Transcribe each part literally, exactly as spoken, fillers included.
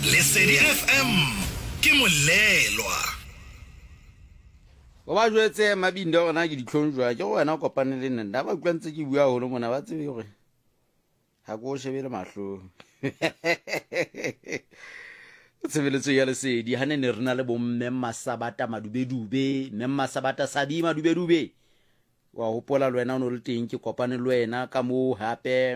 Lesedi F M ke molelwa. O ba jwetse Mabinde hore na ke ditlhong jwang, ke gore wena o kopane le nna. Nna ba utlwa ntse ke bua haholo mona, ba tsebe hore ha ke o shebe le mahlong. Tshebeletso ya Lesedi ha ne ne re na le bomme Masabata Madubedube, mme Masabata Sabi Madubedube. Wa hopola le wena o no le teng, ke kopane le wena ka moo hape.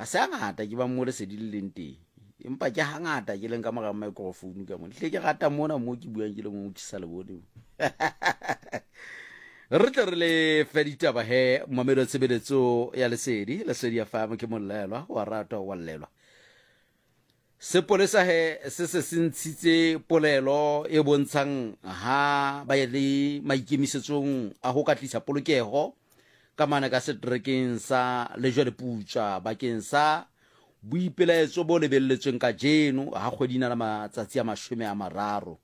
Ha se hangata ke ba mo Lesedi le leng teng, empa ke hangata ke leng ka mora microphone ka mona. Hle ke rata mona moo ke buang ke le mong, ke sa le bone. Re tle re le fe ditaba he, mamelo tshebeletso ya Lesedi, Lesedi ya F M ke molelwa, wa ratwa wa llelwa. Sepolesa he se se se ntshitse polelo e bontshang ha ba ye le maikemisetsong a ho ka tlisa polokeho ka mane ka seterekeng sa Lejweleputswa bakeng sa boipelaetso bo lebelletsweng kajeno ha kgwedi ena la matsatsi a mashome a mararo.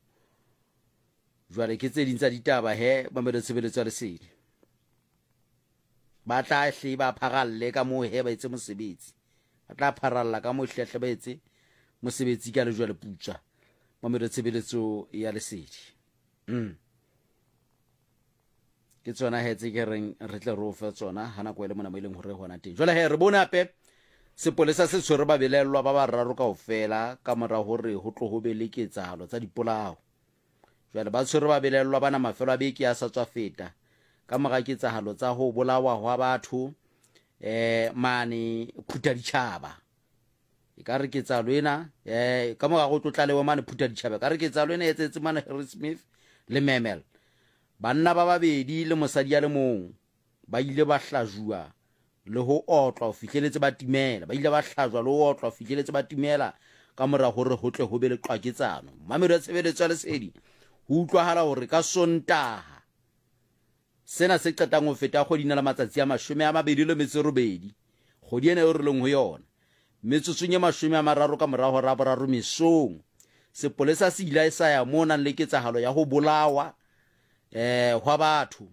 Jwale ke tse ding tsa ditaba he, mamelo tshebeletso ya Lesedi. Ba tla hle ba pharalle ka moo he ba etse mosebetsi. Ba tla pharalla ka moo hle hle ba etse mosebetsi ka Lejweleputswa. Mamelo tshebeletso ya Lesedi. Mm. Ke tsona he tse ke reng re tle re o fe tsona ha nako e le mona mo e leng hore hona teng. Jwale he re bone hape sepolesa se tshwere babelaellwa ba bararo kaofela ka mora hore ho tlo ho be le ketsahalo tsa dipolao. Jwale ba tshwere babelaellwa bana mafelo a beke a sa tswa feta ka mora ketsahalo tsa ho bolawa hwa batho eh mane Phuthaditjhaba. E ka re ketsahalo ena eh ka mora ho tlo tlalewa mane Phuthaditjhaba, ka re ketsahalo ena e etsahetse mane Harrismith le Memel. Banna ba babedi le mosadi ya le mong ba ile ba hlajuwa le ho otlwa ho fihleletse ba timela. Ba ile ba hlajwa le ho otlwa ho fihleletse ba timela ka mora hore ho tle ho be le qwaketsano. Mamelo ya tshebeletso ya Lesedi, ho utlwahala hore ka Sontaha sena se qetang ho feta kgwedi ena la matsatsi a mashome a mabedi le metso e robedi, kgwedi ena eo re leng ho yona, metsotsong e mashome a mararo ka mora hora ya boraro mesong, sepolesa se ile sa ya moo nang le ketsahalo ya ho bolawa eh hwa batho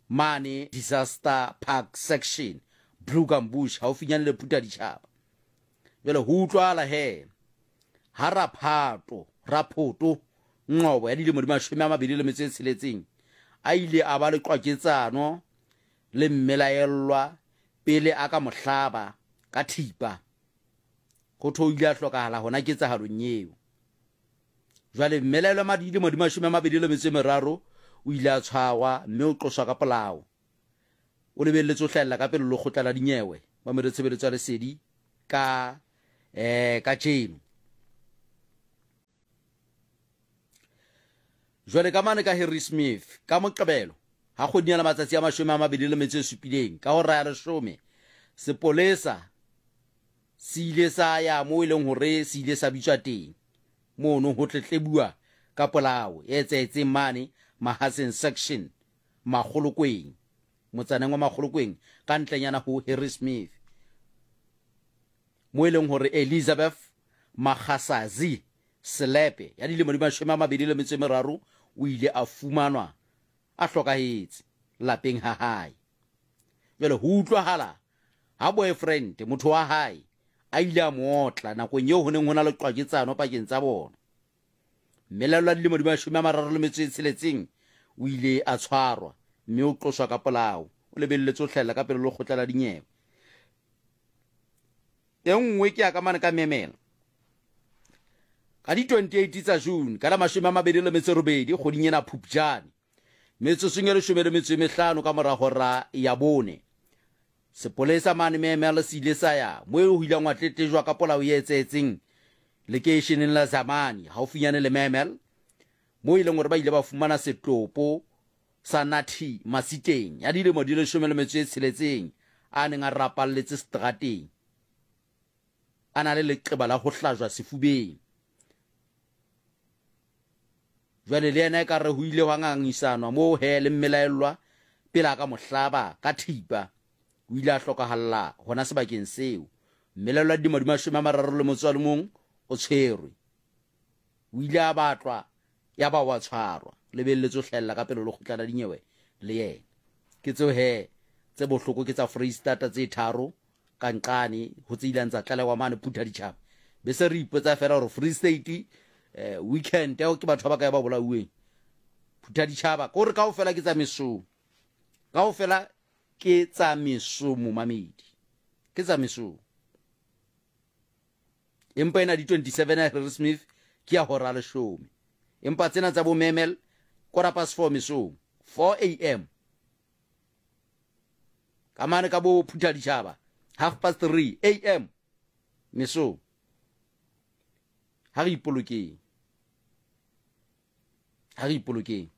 mane Disaster Park Section, Blougambush, haufinyane le Phuthaditjhaba. Jwale ho utlwahala he ha Raphato, Raphoto Nqobo ya dilemo di mashome a mabedi le metso e tsheletseng a ile a ba le qwaketsano le mmelaellwa pele a ka mohlaba ka thipa. Ho thwe o ile a hlokahala hona ketsahalong eo. Jwale mmelaellwa ma dilemo di mashome a mabedi le metso e meraro o ile a tshwarwa mme o qoswa ka polao. O lebelletse ho hlahella ka pele lekgotla la dinyewe mamelo tshebeletso ya Lesedi ka eh kajeno. Jwale ka mane ka Harrismith ka Moqebelo ha kgwedi ya matsatsi a mashome a mabedi le metso e supileng ka hora ya leshome, sepolesa se ile sa ya moo e leng hore se ile sa bitswa teng mono ho tletlebuwa ka polao e etsahetseng mane Mahaseng Section, Makgolokweng, motsaneng wa Makgolokweng ka ntlenyana ho Harrismith, mo e leng hore Elizabeth Magasazi Selepe ya dilemo di mashome a mabedi le metso e meraro o ile a fumanwa a hlokahetse lapeng ha hae. Jwale ho utlwahala ha boyfriend motho wa hae a ile a mo otla nakong eo ho neng ho na le qwaketsano pakeng tsa bona. Mmelaellwa dilemo di mashome a mararo le metso e tsheletseng o ile a tshwarwa mme o qoswa ka polao. O lebelletse ho hlahella ka pele lekgotla la dinyewe. E nngwe ke ya ka mane ka Memela. Ka di twenty-eight tsa June ka la mashome a mabedi le metso e robedi kgweding ena Phupjane, metsotsong e leshome le metso e mehlano ka mora hora ya bone, sepolesa mane Memela se ile sa ya moo ho ileng hwa tletlejwa ka polao e etsahetseng lekeisheneng la Zamani haufinyane le Memel, moo e leng hore ba ile ba fumana setopo sa Nathi Masiteng ya dilemo di leshome le metso e tsheletseng a neng a rapalletse seterateng a na le leqeba la ho hlajwa sefubeng. Jwale le yena ekare ho ile hwa ngangisanwa moo he le mmelaellwa pele a ka mohlaba ka thipa. O ile a hlokahalla hona sebakeng seo. Mmelaellwa dilemo di mashome a mararo le motso a le mong o tshwerwe. O ile a batlwa ya ba wa tshwarwa. Lebelletse ho hlahella ka pele lekgotla la dinyewe le yena. Ke tseo he tse bohloko ke tsa Freistata tse tharo ka nqane ho tse ileng tsa tlalewa mane Phuthaditjhaba. Be se re ipotsa fela gore Free State eh, weekend eo ke batho ba ba kae ba bolauweng. Phuthaditjhaba kore kaofela ke tsa mesong, kaofela ke tsa mesong, momamedi, ke tsa mesong. Empa ena di twenty-seven ya Harrismith ke ya hora leshome, empa tsena tsa bo Memel quarter past four mesong, four A M. Ka mane ka bo Phuthaditjhaba half past three A M mesong. Ha re ipolokeng, ha re ipolokeng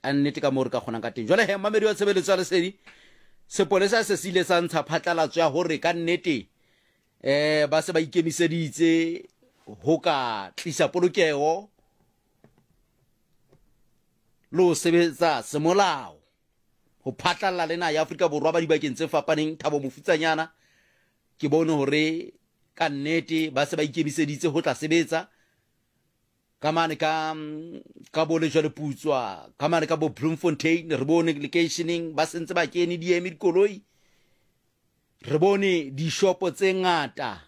ka nnete ka moo re ka kgonang ka teng. Jwale he, mamedi wa tshebeletso ya Lesedi, sepolesa se se ile sa ntsha phatlalatso ya hore ka nnete eh ba se ba ikemiseditse ho ka tlisa polokeho le ho sebetsa semolao ho phatlalla le naha ya Afrika Borwa ba dibakeng tse fapaneng. Thabo Mofutsanyana ke bone hore ka nnete ba se ba ikemiseditse ho tla sebetsa ka mane ka, ka bo Lejwaleputswa, ka mane ka bo Bloemfontein, re bone lekeisheneng ba sentse ba kene di eme dikoloi, re bone dishopo tse ngata,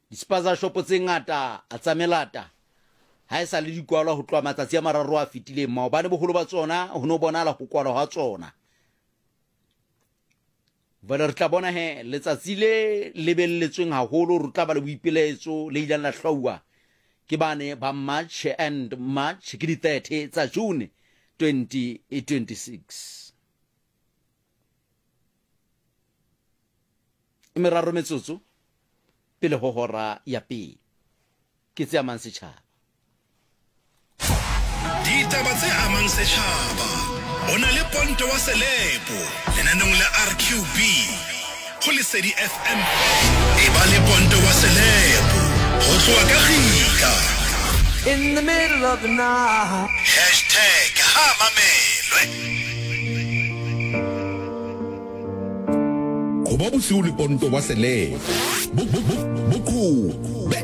di-spaza shopo tse ngata a tsa melata ha e sa le di kwalwa ho tloha matsatsi a mararo a fetileng. Maobane boholo ba tsona ho no bonahala ho kwalwa ha tsona. Jwale re tla bona he letsatsi le lebelletsweng haholo, re tla ba le boipilaetso le ileng la hlwauwa ke bane ba March and March ke di thirty tsa June twenty twenty-six. E meraro metsotso pele ho hora ya pele. Ke tse amang setjhaba. Ditaba tse amang setjhaba. O na le Ponto wa Selepo lenaneong la R Q B ho Lesedi F M. E ba le Ponto wa Selepo ho tloha ka kgitla. In the middle of the night. Hashtag ha mamelwe. Ho ba bosiu le Ponto wa Selepo. Bo, bo, bo, bo, be.